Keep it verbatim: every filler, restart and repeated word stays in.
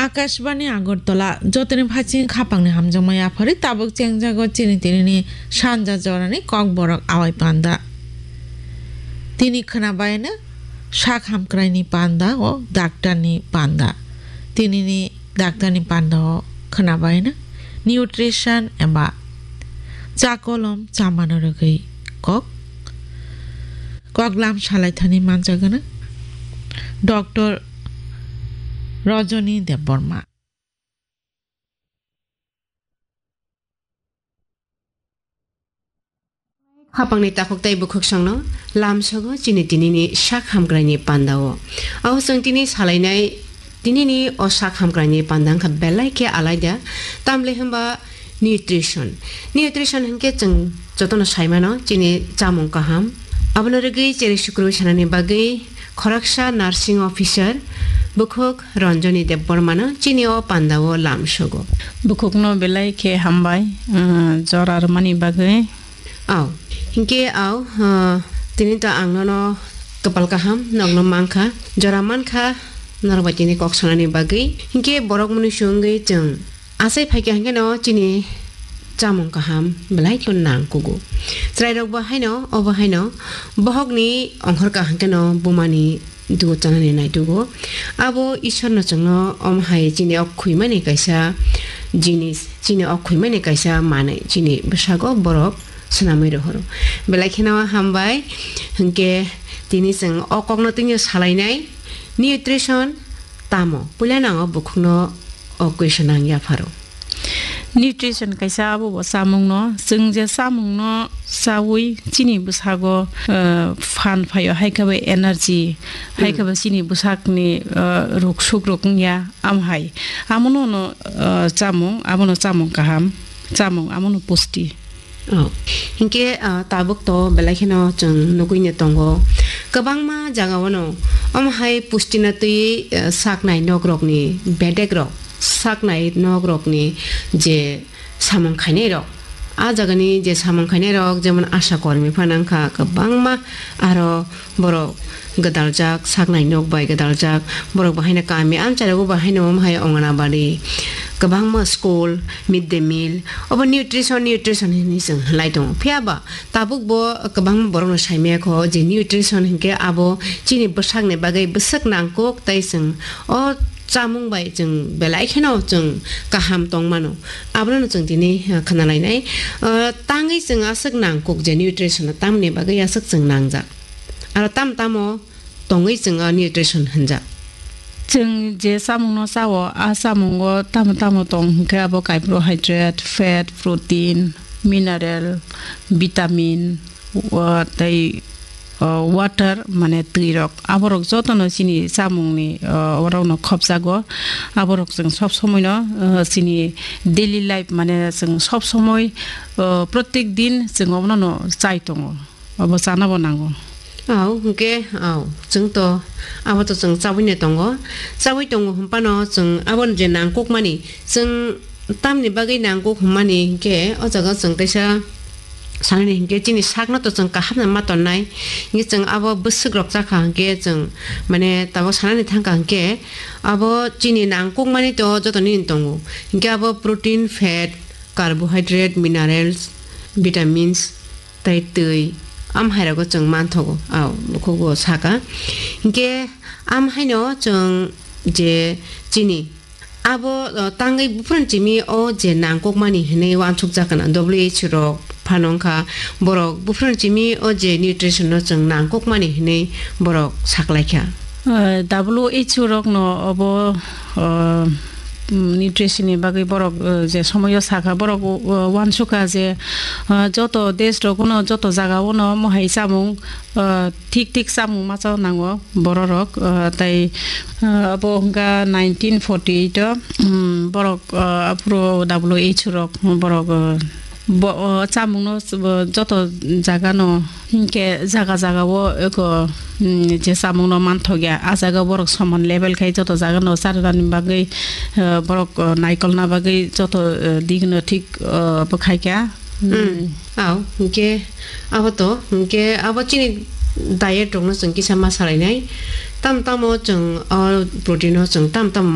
Akashbani Agartala, jotoni phaiching khapangni hamjakma yaphari tabuk chengjago chini tinini sanja jorani kokborok awai panda. Tini khwnabaino sak hamkraini panda o daktarni panda. Tinini daktarni panda o khwnabaino nutrition eba chakolom chamano rwgwi kok, koklam salaithani manjagana Doctor Rajani Debbarma. Khapangni takhuk tei bwkhuk songno lamsogo chini tinini sak hamkraini pandao. Abo chwng tini salainai tinini o sak hamkraini panda wngkha belai khe alaida. Tamle hwnba nutrition. Nutrition hwnkhe chwng jotono saimano chini chamung kaham. Abono rwgwi cherwi sukrwi sanani bagwi khoroksa nursing officer bukhuk Ranjani Debbarmano chini o pandao lamsogo. Bukhukno belai khe hambai, uh, jora rwmani bagwi. Aw, hinkhe aw, uh, tini to ang nono kwpal kaham nokno mankha, jora mankha norok bai tini kok sanani bagwi. Hinkhe borok mwnwi swngwi chwng Asai phaikha hwnkhe no chini chamung kaham belai khe nangkugo. Chwrairok bo haino, obo haino bohokni ongkhorka hwnkhe no bumani dugo chanani naitugo. Abo Ishwarno chwngno omo hai chini o khwimani kaisa jinis, chini o khwimani kaisa manwi chini bwsago borok swnamwi rohoro. Belai kheno hambai hwnkhe tini chwng o kokno tini salainai nutrition tamo? Puila nango bukhukno o question ang yapharo. Nutrition kaisa abo bo chamungno, chwng je chamungno chawi chini bwsago, eh, phan phaio, hai khe bai energy, hai khe bai chini bwsakni, eh, ruk suk rok wngya, am hai. Amono no, eh, chamung, abono chamung kaham, chamung, amono pusti. Oh. Hinkhe, ah, tabuk to belai kheno chwng nugwi no tongo. Kwbangma jagao no omo hai pusti no twi, ah, saknai nok rokni bedek rok, saknai nok rokni je samung khainai rok. A jagani je samung khainai rok, jemon asha kormi phano wngkha kwbangma, aro borok gwdaljak, saknai nok bai gwdaljak, borok bahaino kami amchai rogo bahaino omo hai Anganabadi, kwbangma school, mid day meal, obo nutrition, nutrition hinwi chwng lai tongo. Phiya ba tabuk bo kwbangma borokno saimaya kho je nutrition hinkhe abo chini bwsakni bagwi bwswk nangkuk, tei chwng o chamung bai chwng belai kheno chwng kaham tong mano. Abono chwng tini, eh, khna lainai. Eh, tangwi chwng aswk nangkuk je nutrition tamni bagwi aswk chwng nangjak. Aro tam tamo tongwi chwng o nutrition hwnjak. Chwng je chamungno chao, a chamungo tamo tamo tong hwnkhe abo carbohydrate, fat, protein, mineral, vitamin, o, tei, o, water, mane twi rok, aborok jotono chini chamungni, o, orokno khopjago. Aborok chwng sob somoino, o, chini daily life, mane chwng sob somoi, o, protek din chwng obono no chai tongo. Obo chana bo nango. Au, hwnkhe, au, chwng to, abo to chwng chabwi nai tongo. Chabwi tongo hwn phano chwng abo je nangkukmani, chwng tamni bagwi nangkuk hwnmani hinkhe, o jaga chwng kaisa sanani hinkhe chini sakno to chwng kaham ma tonnai. Hinkhe chwng abo bwswk rok chakha hinkhe chwng, mane, tabuk sanani thangkha hinkhe abo chini nangkukmani to joto nini tongo. Hinkhe abo protein, fat, carbohydrate, minerals, vitamins, tei twi, am hairogo chwng manthogo, au, bukhugo saka. Hinkhe am haino chwng je chini abo, o, tangwi buphuruni simi o je nangkukmani hinwi uansukjak kana, W H O rok phano wngkha, borok buphuruni simi o je nutrition no chwng nangkukmani hinwi borok saklaikha. Eh, W H O rokno obo, eh, mm, nutrition ni bagwi borok, eh, je somoyo sakha, borok, eh, uansukha je, eh, joto desh rogono, joto jagao no mohai chamung, eh, thik thik chamung macha nango bororok, eh, tai, eh, abo hwnkha nineteen forty eight o, mm, borok, eh, aphuru W H O rok borok, eh, Bo, o, chamungno s-, bo, joto jagano, hinkhe jaga jagao eko, mm, je chamungno manthokya, a jaga borok soman level khai joto jagano charwrani bagwi, eh, borok, o, naikolna bagwi joto, eh, digno thik, o, bwkhaikha. Mm. Mm. Au, hinkhe abo to, hinkhe abo chini diet rokno chwng kisa ma salainai. Tam tamo chwng o protein o chwng tam tamo